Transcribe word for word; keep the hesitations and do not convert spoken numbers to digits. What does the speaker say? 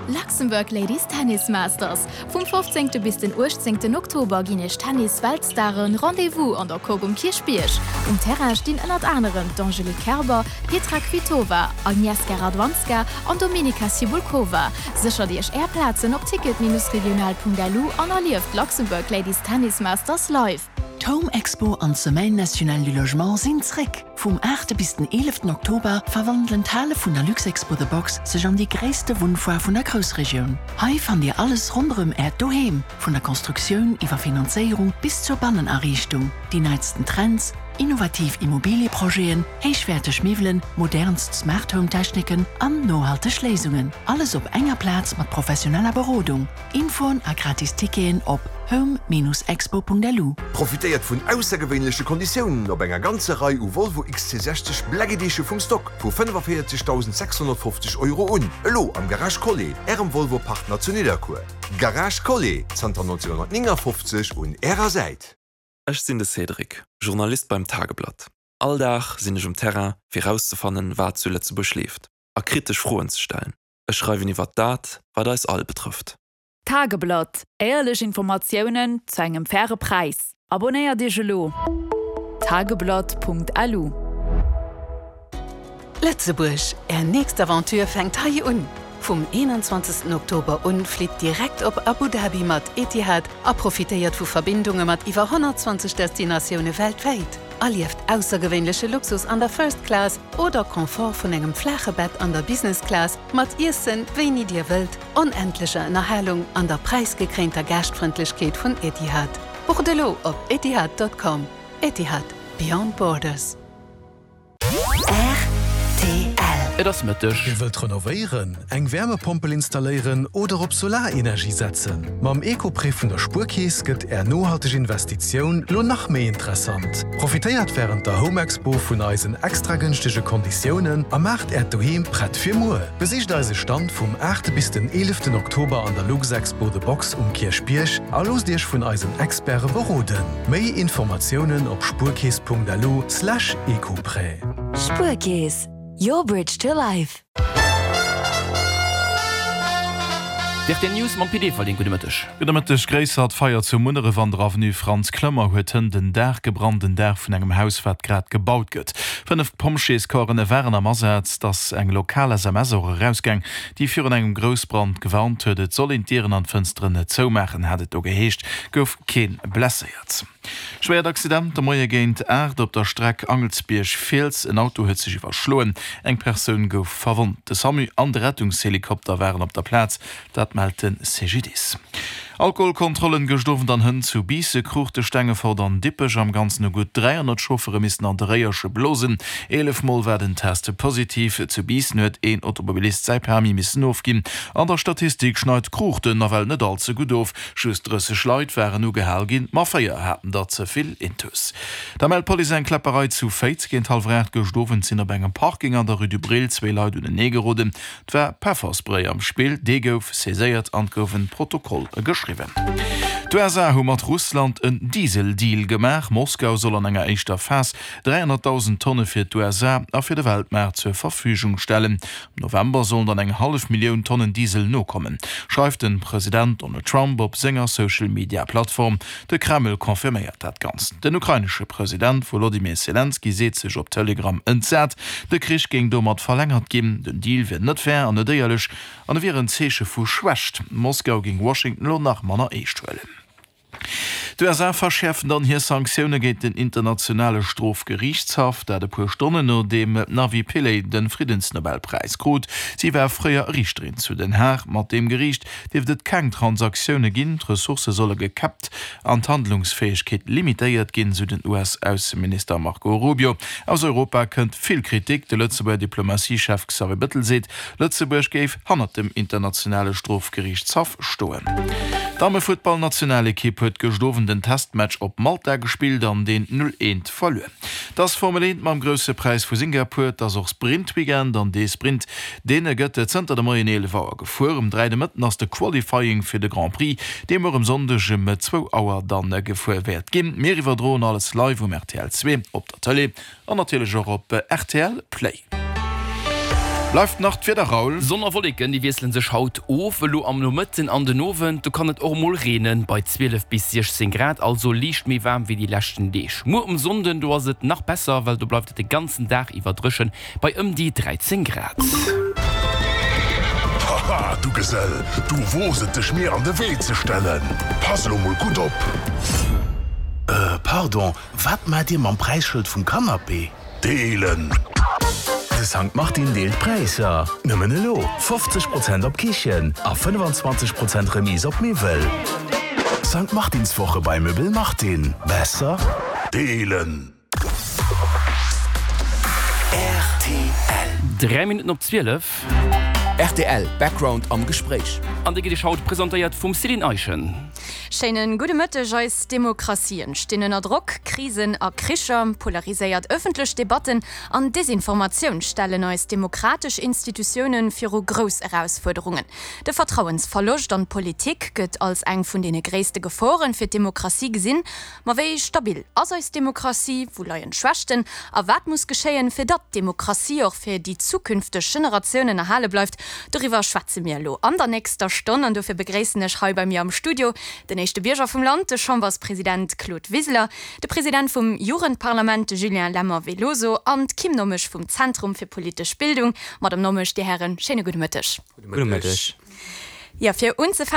Luxembourg Ladies Tennis Masters. Vum fofzéngte bis den uechtzéngten Oktober ginn iech Tennis-Weltstaren Rendez-vous an der Coque um Kierchbierg. Um Terrain stinn ënnert anerem d'Angelique Kerber, Petra Kvitova, Agnieszka Radwanska an Dominika Cibulkova. Séchert iech är Plazen op ticket-regional.lu an erlieft d'Luxembourg Ladies Tennis Masters live. D'Home Expo an d'Semaine nationale du logement sinn zréck! Vum aachte bis den eeleften Oktober verwandelen d'Hale vun der Luxexpo The Box sech an déi gréisste Wunnfoire vun der Groussregioun. Hei fannt Dir alles ronderëm Äert Doheem, vun der Konstruktioun iwwer Finanzéierung bis zur Bannenariichtung, déi neitsten Trends, innovativ Immobilieprojeten, héichwäerteg Miwwelen, modernst Smart Home Techniken an nohalteg Léisungen. Alles op enger Plaz mat professioneller Berodung. Infoen a gratis Ticketen op home-expo.lu. Profitéiert vun aussergewéinleche Konditiounen op enger ganzer Rei u Volvo X C sechzeg Black Edition vum Stock vu fënnefavéierzegdausend sechshonnertfofzeg Euro un, elo am Garage Collet, Ärem Volvo Partner zu Nidderkuer. Garage Collet, zanter nonzénhonnertnéngafofzeg un Ärer Säit. Ech sinn de Cédric, Journalist beim Tageblatt. All Dag sinn ech um Terrain, fir rauszefannen, wat zu Lëtzebuerg leeft, a kritesch Froen ze stellen. Ech schreiwen iwwer dat, wat eis all betrëfft. Tageblatt, Éierlech Informatiounen zu engem faire Präis. Abonéiert Iech elo! Tageblatt.lu. Lëtzebuerg, Är nächst Aventure fänkt hei un! Vum eenanzwanzegsten Oktober un flitt direkt op Abu Dhabi mat Etihad a profitéiert vu Verbindunge mat iwwer honnertzwanzeg Destinatioune weltwäit. Erlieft aussergewéinleche Luxus an der First Class oder Confort vun engem flaache Bett an der Business Class mat Iessen, wéini Dir wëllt, onendlecher Ënnerhalung an der präisgekréinter Gaaschtfrëndlechkeet vun Etihad. Bucht elo op etihad Punkt com. Etihad, Beyond Borders. R T L. Et ass Mëtteg. Dir wëllt renovéieren, eng Wärmepompel installéieren oder op Solarenergie setzen? Mam Ecoprêt vun der Spuerkeess gëtt Är nohalteg Investitioun lo nach méi interessant. Profitéiert wärend der Home Expo vun eisen extra gënschtege Konditiounen a maacht Äert Doheem prett fir muer. Besicht eise Stand vum aachte bis den eeleften Oktober an der Luxexpo The Box um Kierchbierg a loosst Iech vun eisen Experte beroden. Méi Informatiounen op spuerkeess Punkt lu slash ecoprêt. Spuerkeess, your bridge to life. D R T L News mam Pit Everling. Gudde Mëtteg. Gudde Mëtteg. Gréissert Feier zu Munneref an der Avenue Frantz Clement huet hënt den Daach gebrannt, den Daach vun engem Haus, wat grad gebaut gëtt. Fënnef Pompjeescorpsen waren am Asaz. Et ass eng lokal S M S och erausgaang, déi virun engem Groussbrand gewarnt huet. Et soll een d'Dieren an d'Fënsteren net zoumaachen, hat et do geheescht. Gouf kee blesséiert. Schwéiert Accident de Moie géint aacht op der Streck Angelsbierg-Fiels. En Auto huet sech iwwerschloen. Eng Persoun gouf verwonnt. De SAMU an de Rettungshelikopter waren op der Plaz. Dat mellt de C G D I S. Alkoholkontrollen gëscht Owend an hënt zu Biissen, Kruuchten, Stengefort an Dippech. Am Ganzen hu gutt dräihonnert Chauffere missen an de Réierche blosen. Eelef Mol war den Test positiv. Zu Biissen huet een Automobilist säi Permis missen ofginn. An der Statistik schneit Kruuchten nawell net all ze gutt of. Just drësseg Leit waren ugehal ginn, ma véier haten der ze vill intus. Da mellt d'Police eng Kläpperei zu Féiz. Géint hallwer aacht gëscht Owend sinn op engem Parking an der Rue du Brill zwee Leit unenee geroden. Et war Pefferspray am Spill, dee gouf saiséiert an et gouf e Protokoll geschriwwen. D'U S A hu mat Russland en Diesel-Deal gemaach. Moskau soll an enger éischter Phas dräihonnertdausend Tonne fir d'U S A a fir de Weltmaart zur Verfügung stellen. Am November sollen dann eng hallef Millioun Tonnen Diesel nokommen, schreift de President Donald Trump op senger Social-Media-Plattform. De Kreml confirméiert dat Ganzt. Den ukrainesche President Wolodymyr Selenskyj seet sech op Telegram entsat, de Krich géing domat verlängert ginn. Den Deal wier net fair an net éierlech an e wier en Zeeche vu Schwächt. Moskau géing Washington lo nach manner eescht huelen. D'U S A verschäerfen dann hir Sanktioune géint den internationale Strofgeriichtshaff, dat e puer Stonnen nodeem d'Navi Pillay de Friddensnobelpräis krut. Si war fréier Riichterin zu Den Haag. Mat deem Geriicht dierft et keng Transaktioune ginn, d'Ressourcë solle gekäppt an d'Handlungsfäegkeet limitéiert ginn, sou den U S-Ausseminister Marco Rubio. Aus Europa kënnt vill Kritik. De Lëtzebuerger Diplomatiechef Xavier Bettel seet, Lëtzebuerg géif hannert dem internationale Strofgeriichtshaff stoen. D'Damme-Futtballnationalekipp huet gëscht Owend den Testmatch op Malta gespillt an deen null eent verluer. Et ass Formel eent mam Grousse Präis vu Singapur. Et ass och Sprint-Weekend an dee Sprint, dee gëtt zënter de Moien eelef Auer gefuer. Um dräi de Mëtten ass de Qualifying fir de Grand Prix, dee muer um Sonndeg um zwou Auer dann gefuer wäert ginn. Mir iwwerdroen alles live um R T L zwee op der Tëlee an natierlech och op R T L Play. Bleift nach d'Wieder, Raoul. Sonn a Wolleken, déi wiessele sech haut of. Elo am Nomëtten an den Owend, do kann et och emol reenen, bei zwielef bis siechzéng Grad, also liicht méi waarm wéi déi leschten Deeg. Muer um Sonnden, do ass et nach besser, well do bleift et de ganzen Dag iwwer dréchen, bei ëm déi dräizéng Grad. Haha, du Gesell, du woos et dech mir an de Wee ze stellen. Pass elo mol gutt op! Äh, pardon, wat maacht Dir mam Präisschëld vum Canapé? Deelen! De Sankt Martin deelt Präisser! Nëmmen elo fofzeg Prozent op Kichen a fënnefenzwanzeg Prozent Remise op Miwwel. Sankt Martinswoche bei Möbel Martin. Besser deelen! Rtl. Dräi Minutten op zwielef. Rtl Background am Gespréich. An dee gëtt Iech haut presentéiert vum Céline Eischen. Schéine gudde Mëtteg. Eis Demokratien stinn ënner Drock. Krisen a Kricher, polariséiert ëffentlech Debatten an Desinformatioun stellen eis demokratesch Institutioune viru grouss Erausfuerderungen. De Vertrauensverloscht an d'Politik gëtt als eng vun deene gréisste Geforen fir d'Demokratie gesinn. Ma wéi stabil ass eis Demokratie? Wou leien d'Schwächten? A wat muss geschéien, fir datt d'Demokratie och fir déi zukünfteg Generatiounen erhale bleift? Doriwwer schwätze mir elo an der nächster Stonn an dofir begréissen ech hei bei mir am Studio den éischte Bierger vum Land, de Chamberspresident Claude Wiseler, de President vum Jugendparlament, de Julien Lemmer Veloso an d'Kim Nommesch vum Zentrum fir politesch Bildung. Madame Nommesch, Dir Hären, schéine gudde Mëtteg. Gudde Mëtteg. Jo, fir unzefänken,